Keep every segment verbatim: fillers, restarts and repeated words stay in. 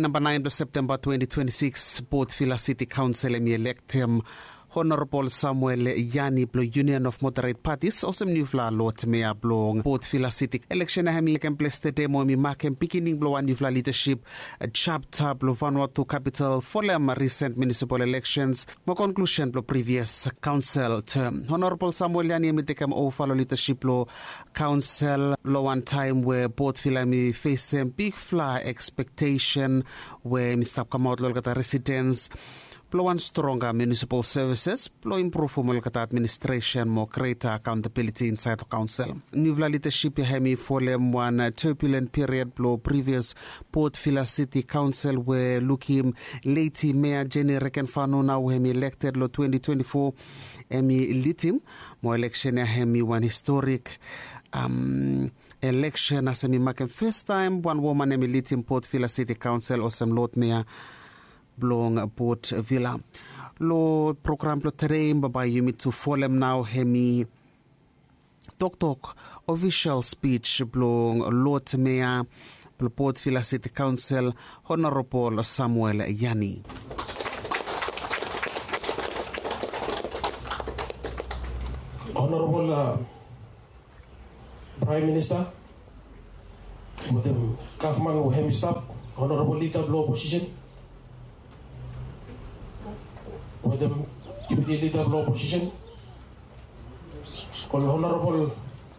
Namba naen blong Septemba twenti twenti sikis, Port Vila City Council hemi elektem Honorabol Samuel Yani blong Union of Moderate Parties olsem niufala Lord Mayor blong Port Vila City. Eleksen ya hemi tekem ples tede mo hemi makem pikinini blong wan niufala lidasip japta blong Vanuatu kapital folem risent munisipal eleksens mo konklusen blong privias kaonsel tem. Honorabol Samuel Yani hemi tekem ova long lidasip blong kaonsel long wan taem we Port Vila hemi fesem bigfala ekspektesen we hemi stap kamaot long olgeta residens blong wan stronga munisipal sevises blong impruvum olgeta administresen mo greta akaontabiliti insaed long kaonsel. Niufala lidasip ya hemi folem wan turbulen piriod blong privias Port Vila City Kaonsel we lukim leti Mayor Jenny Rekenfano nao we hemi elekted long twenti twenti fo, hemi lidim. Mo eleksen ya hemi wan historik eleksen as hemi makem fastaem wan woman hemi lidim Port Vila City Kaonsel olsem Lord Mayor blong Port Vila. Long program blong tede bambae yumi tu folem nao hemi toktok ofisol spij blong Lord Mayor blong Port Vila City Kaonsel, Honorabol Samuel Yani. Honorabol Praem Minista wetem gavman we hemi stap, honorabol lida blong oposisen wetem deputi lida blong oposisen, ol honorabol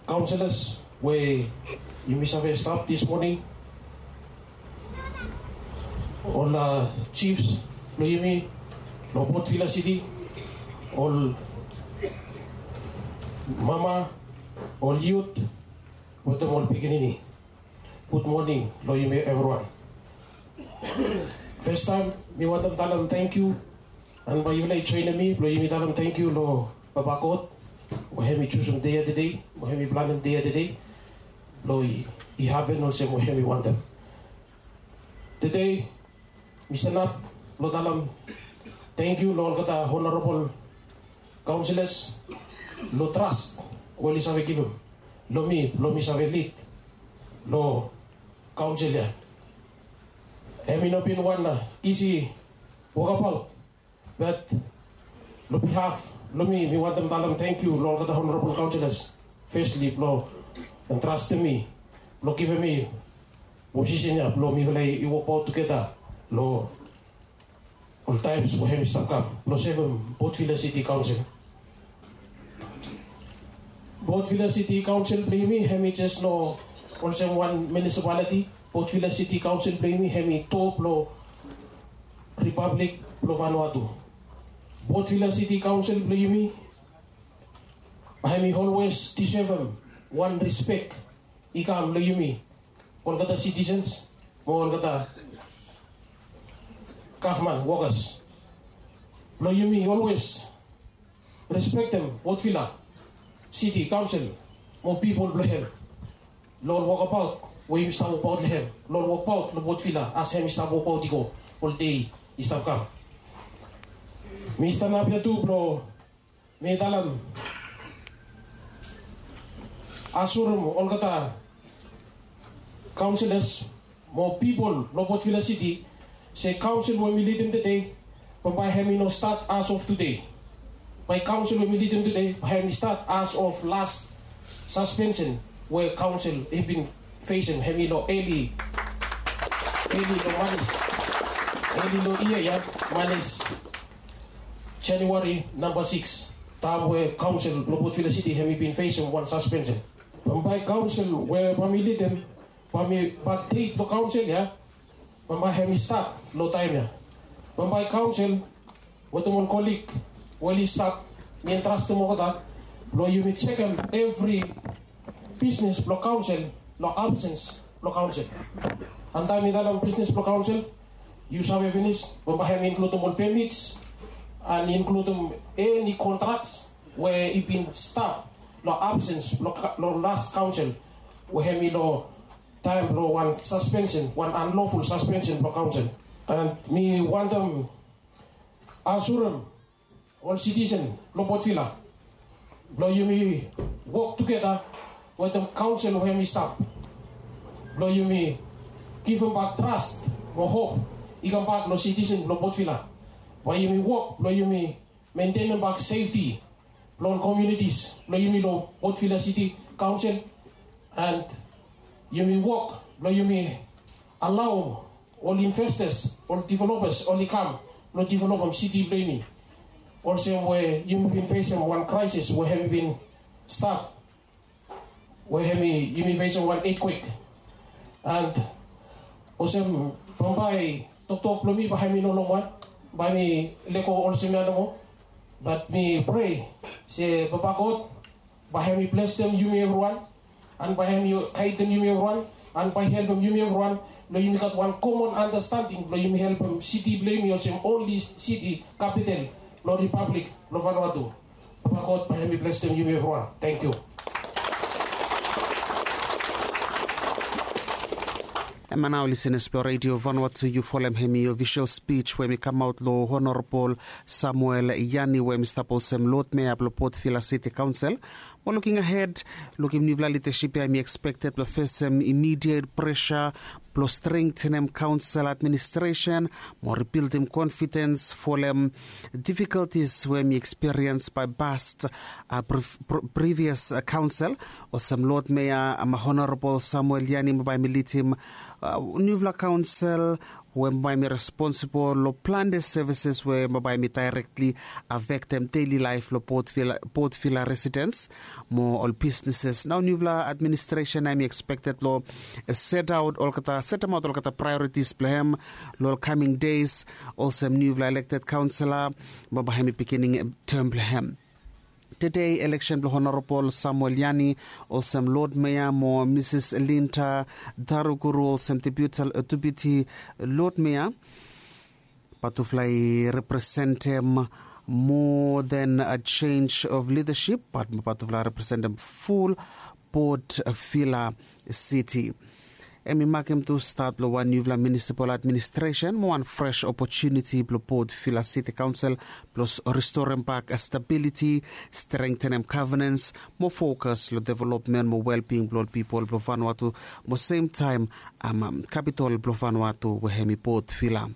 kaonselas we yumi save stap dis moning, ol jifs blong yumi long Port Vila City, ol mama, ol yut wetem ol pikinini. Gud moning long yumi evriwan. Fastaem mi wantem talem tangkiu, an bae yufala i joenem mi blong yumi talem tangkiu long Papa God we hemi jusum dei ya tede, we hemi planem dei ya tede blong i hapen olsem we hemi wantem. Tede mi stanap blong talem tangkiu long olgeta honorabol kaonselas long tras we oli save givim long mi blong mi save lid long kaonsel ya. Hemi no bin wan isi wokabaot, bat long bihaf blong mi mi wantem talem tangkiu long olgeta honorabol kaonselas, fesli blong trastem mi blong givim mi posisen ya blong mifala i wokbaot tugeta long ol taems we hemi stap kam blong sevem Port Vila City Kaonsel. Port Vila City Kaonsel blong yumi hemi jes no olsem wan munisipaliti. Port Vila City Kaonsel blong yumi hemi to blong Ripablik blong Vanuatu. Port Vila City Kaonsel blong yumi hemi olwes disevem wan rispek i kam long yumi olgeta sitisens mo olgeta gavman wokas blong yumi olwes respektem Port Vila City Kaonsel mo pipol blong hem long ol wokabaot we yumi stap wokbaot long hem, long ol wokbaot long Port Vila as hemi stap wokbaot i go ol dei i stap kam. Mi stanap ya tu blong mi talem asurem olgeta kaonselas mo pipol long Port Vila City se kaonsel we mi lidim tede bambae hemi no stat as of tede. Bae kaonsel we mi lidim tede bae hemi stat as of las saspensen we kaonsel i bin fesem hemi long eli eli long manis eli long yia ya manis Januari namba sikis, taem we kaonsel blong Port Vila City hemi bin fesem wan saspensen. Bambae kaonsel we bae mi lidim bae mi bakdeit long kaonsel ya bambae hemi stat long taem ya. Bambae kaonsel wetem ol kolig we oli stap mi entrastem olgeta blong yumi jekem evri bisnes blong kaonsel long absens blong kaonsel. Antaem mi talem bisnes blong kaonsel yu save finis bambae hemi inkludim ol pemits an inkludim eni kontraks we i bin stap long absens blong las kaonsel we hemi long taem blong wan saspensen wan anloful saspensen blong kaonsel. An mi wantem asurem ol sitisen blong Port Vila blong yumi wok tugeta wetem kaonsel we hemi stap blong yumi givim bak tras mo hop i kambak long sitisen blong Port Vila. Bae yumi wok blong yumi mentenem bak sefti blong ol komiunitis blong yumi long Port Vila Siti Kaonsel. And yumi wok blong yumi alao ol investas, ol developers oli kam blong developem siti blong yumi. Olsem we yumi bin fesem wan kraesis we hem i bin stap, we hem i yumi fesem wan etkwek. And olsem bambae toktok blong mi bae hem i no longwan, bae mi lego olsem ya nomo. Bat mi prea se Papa God bae hem i blesem yumi evriwan, and bae hem i gaedem yumi evriwan, and bae i helpem yumi evriwan blong yumi gat wan komon andastanding blong yumi helpem siti blong yumi olsem onli siti kapital blong Ripablik blong Vanuatu. Papa God bae hem i blesem yumi evriwan. Tangkiu. Hemia nao lisenas blong Redio Vanuatu, yu folem hemi ofisol spij we hemi kamaot long Honorabol Samuel Yani we hemi stap olsem Lod Mea blong Port Vila Siti Kaonsel. Mo luking ahed, lukim niufala lidasip ya hemi ekspekted blong fesem imidiet presa blong strengtenem kaonsel administresen mo ribildim konfidens folem difikoltis we hemi ekspiriens bae past previas kaonsel. Olsem Lod Mea Honorabol Samuel Yani bae hemi lidim niufala kaonsel we bae hemi responsibol long plante sevises we bae hemi daerektli afektem deli laef blong Port Vila residens mo ol bisneses. Nao niufala administresen hemi ekspekted blong setaot olgeta setemaot olgeta praeoritis blong hem long ol kaming des olsem niufala elekted kaonsela bae hemi bigining tem blong hem. Tede eleksen blong Honorabol Samuel Yani olsem Lod Mea mo Misis Linda Daruguru olsem Deputi Lod Mea, bae tufala i representem moa than a chenj of lidasip, bae tufala i representem ful Port Vila Siti. Hemi makem tu stat blong wan niufala munisipal administresen mo wan fres opotuniti blong Port Vila Siti Kaonsel blong ristorem bak stabiliti, strengtenem gavenens mo fokas long developmen mo welbing blong ol pipol blong Vanuatu mo semtaem kapitol blong Vanuatu we hemi Port Vila.